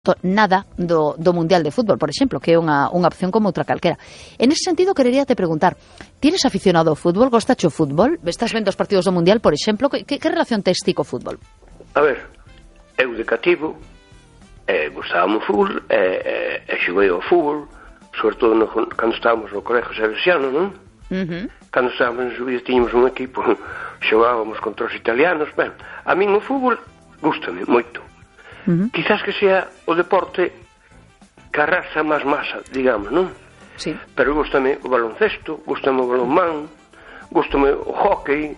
visto nada do Mundial de Fútbol, por exemplo, que é unha opción como outra calquera. En ese sentido, querería te preguntar, tienes aficionado ao fútbol? Gostache o fútbol? Estás vendo os partidos do Mundial, por exemplo? Que relación tes ti co fútbol? A ver, eu de cativo gustábame o fútbol e xoguei ao fútbol, sobre todo cando estábamos no Colegio Salesiano, non? Cando estábamos en Subiza tiñamos un equipo, xogábamos contra os italianos. Ben, a min o fútbol gústame moito. Quizás que sea o deporte que arrasa máis masa, digamos, non? Sí. Pero gústame o baloncesto, gústame o balonmán, gústame o hóquei.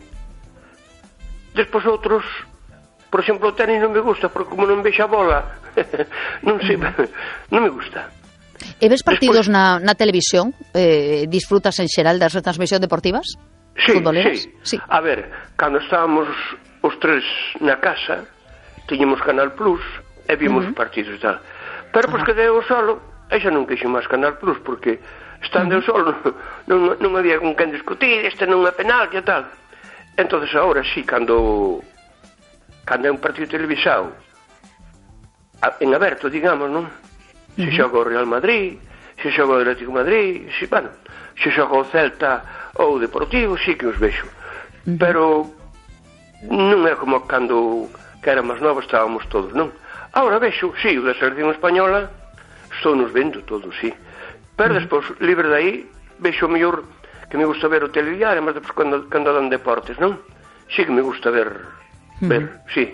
Despois outros, por exemplo, o tenis non me gusta, porque como non vexo a bola, non sei, non me gusta. E ves partidos na televisión? Disfrutas en xeral das retransmisións deportivas? Sí, futboleras? Sí. A ver, cando estábamos os tres na casa, tiñamos Canal Plus e vimos partidos e tal. Pero pois que deu solo, e xa non quixo máis Canal Plus, porque estando eu solo non había con quen discutir, este non é penal e tal. Entonces agora sí, cando é un partido televisado en aberto, digamos, non? Se xoga o Real Madrid, se xoga o Atlético Madrid, se xoga o Celta ou o Deportivo, sí que os vexo. Pero non é como cando que era máis novo estábamos todos, non? Agora vexo, sí, o da selección española estou nos vendo todos, sí. Pero despois, libre de aí, vexo o mellor que me gusta ver o telediario, mas despois cando dan deportes, non? Sí que me gusta ver, sí.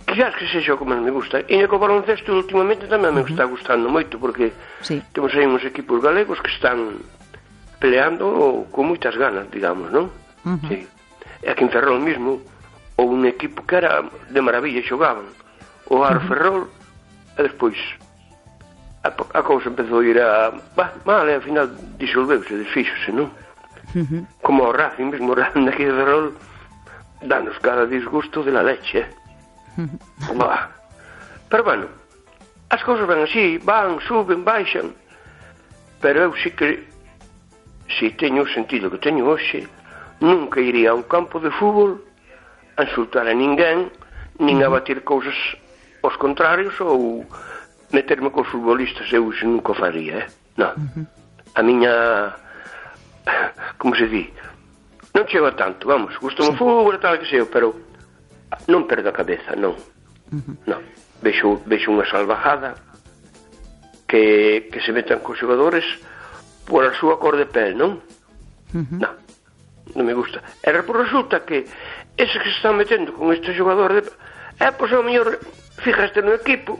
Quizás que sexa o que máis me gusta. E co baloncesto últimamente tamén me está gustando moito, porque temos aí uns equipos galegos que están peleando con moitas ganas, digamos, non? Sí. E aquí en Ferrol mismo, ou un equipo que era de maravilla, xogaban o Aro Ferrol, e despois a cousa empezou a ir mal, e ao final disolveuse, desfíxose, non? Como o Racing mesmo, o Racing aquí de Ferrol danos cada disgusto de la leche, Pero bueno, as cousas van así, van, suben, baixan, pero eu sí que, si teño o sentido que teño hoxe, nunca iría a un campo de fútbol a insultar a ninguén, nin a batir cousas aos contrarios ou meterme cos futbolistas. Eu iso nunca faría, non. A miña, como se di, non chego a tanto, vamos, gustame o fútbol e tal que sei, pero non perdo a cabeza, non. Non, vexo unha salvajada que se metan cos xogadores por a súa cor de pel, non? Non me gusta. E resulta que ese que se están metendo con este xogador pois ao mellor fijaste no equipo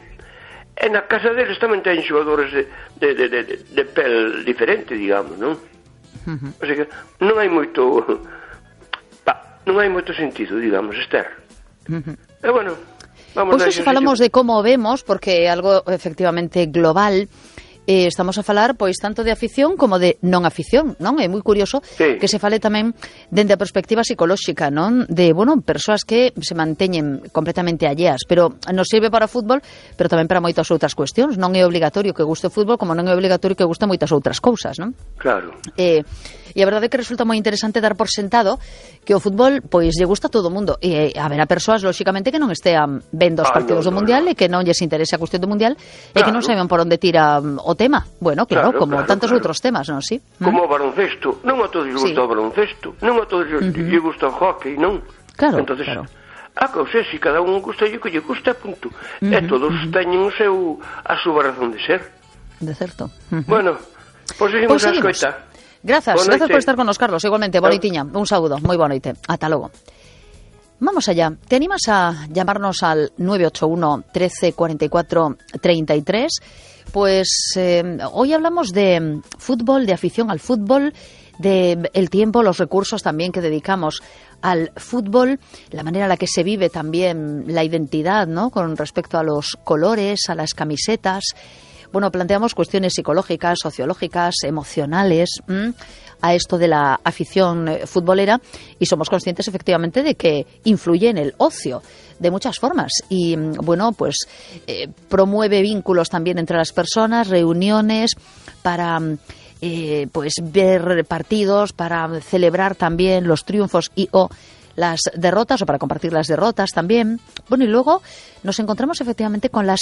e na casa deles tamén ten xogadores de pel diferente, digamos, non? O sea que non hai moito sentido, digamos, Esther. E bueno, pois se falamos de como vemos, porque é algo efectivamente global. Estamos a falar pois tanto de afición como de non afición, non? É moi curioso que se fale tamén dende a perspectiva psicolóxica, non? De, persoas que se manteñen completamente alleas, pero nos sirve para o fútbol, pero tamén para moitas outras cuestións. Non é obligatorio que guste o fútbol, como non é obligatorio que guste moitas outras cousas, non? Claro. E a verdade é que resulta moi interesante dar por sentado que o fútbol, pois, lle gusta a todo o mundo. E haberá persoas, lóxicamente, que non estean vendo os partidos do Mundial e que non lles interese a cuestión do Mundial e que non saiban por onde tira o tema. Bueno, claro, como tantos outros temas, non? Sí. Como o baloncesto, non a todos lles gusta o baloncesto, non a todos lles gusta o hockey, non? Claro, entonces, claro. A cousa, se cada un gusta o que lle gusta, punto. E todos teñen a súa razón de ser. De certo. Bueno, pois seguimos a escoita. Gracias por estar con nos, Carlos. Igualmente, bonoitiña. Un saúdo, moi boa noite. Ata logo. Vamos allá. ¿Te animas a llamarnos al 981 13 44 33? Pues hoy hablamos de fútbol, de afición al fútbol, de el tiempo, los recursos también que dedicamos al fútbol, la manera en la que se vive también la identidad, ¿no? Con respecto a los colores, a las camisetas. Bueno, planteamos cuestiones psicológicas, sociológicas, emocionales a esto de la afición futbolera y somos conscientes efectivamente de que influye en el ocio de muchas formas y bueno, pues promueve vínculos también entre las personas, reuniones para pues ver partidos, para celebrar también los triunfos y o las derrotas o para compartir las derrotas también. Bueno, y luego nos encontramos efectivamente con las